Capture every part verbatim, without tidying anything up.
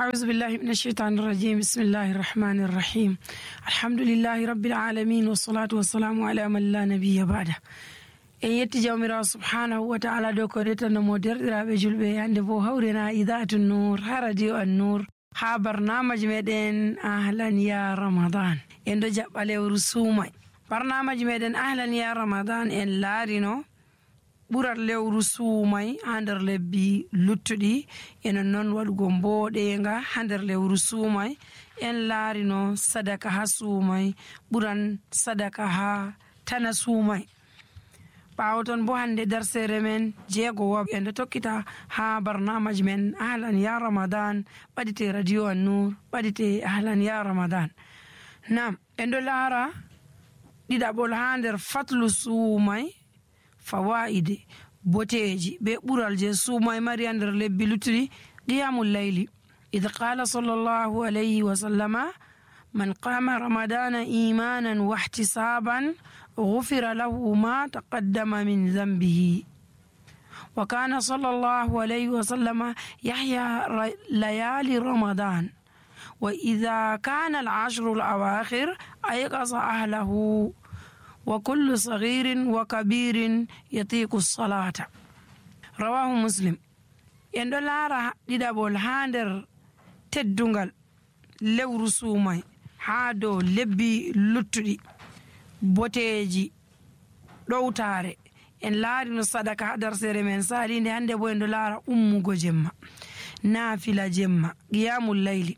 أعوذ بالله من الشيطان الرجيم. بسم الله الرحمن الرحيم. الحمد لله رب العالمين، والصلاة والسلام على من لا نبي بعده. En yetti Jawmiraawo subhanahu wa ta'ala dow ko retanno mo derɗiraaɓe julɓe. Hannde bo hawrena Idaa'atu Nuur haa Radio An-Nuur haa barnaamaj meɗen Ahlan ya Ramadan. En ɗo jaɓɓa lewru suumay. Barnaamaj meɗen Ahlan ya Ramadan en laarino ɓural lewru suumay haa nder lebbi luttuɗi. Eno non waɗugo mbooɗeenga haa nder lewru suumay. En laarino sadaka haa suumay ɓuran sadaka haa tana suumay. Ɓaawo ton bo hannde darseere men jeego wa en ɗo tokkita haa barnaamaj men Ahlan ya Ramadan, ɓadite Radio An-Nuur, ɓadite Ahlan ya Ramadan. Naam, en ɗo laara ɗiɗaɓol haa nder fatlu suumay, fawaa'idi, boteeji be ɓural je suumay mari haa nder lebbi luttuɗi, qiyamul layli. إذ قال صلى الله عليه وسلم: من قام رمضان إيمانا واحتسابا غفر له ما تقدم من ذنبه. وكان صلى الله عليه وسلم يحيا ر-، ليالي رمضان، وإذا كان العشر الأواخر أيقظ أهله، وكل صغير وكبير يطيق الصلاة. رواه مسلم. En ɗo laara ɗiɗaɓol haa nder teddungal lewru suumay haa dow lebbi luttuɗi, boteeji, ɗowtaare. En laarino sadaka haa darseere men saalinde, hannde bo en ɗo laara ummugo jemma, naafila jemma, qiyamul layli.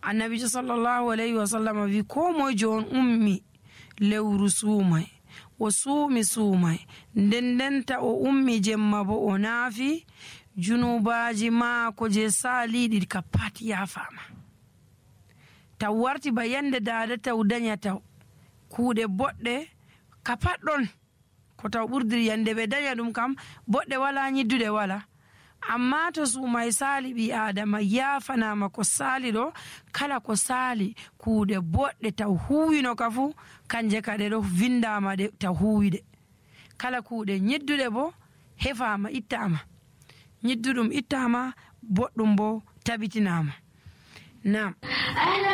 Annabiijo sallallahu alayhi wa sallam wi, ko moyjo on ummi lewru suumay, o suumi suumay, nden ndenta o ummi jemma bo o naafi, junubaaji maako je saaliiɗi ka pat yaafaama. Taw warti ba yande daada taw danya taw. Kuuɗe boɗɗe ka pat ɗon. Ko taw ɓurdiri yande ɓe danya ɗum kam, boɗɗe wala, nyidduɗe wala. Amma to suumay saali ɓii Aadama, yaafanaama ko saali ɗo, kala ko saali kuuɗe boɗɗe taw huuwino ka fu, kanje ka ɗe ɗo vindaama ɗe taw huuwiɗe. Kala kuuɗe nyidduɗe bo hefaama, ittaama. Nyidduɗum ittaama, boɗɗum bo tabitinaama. Naam. أهلا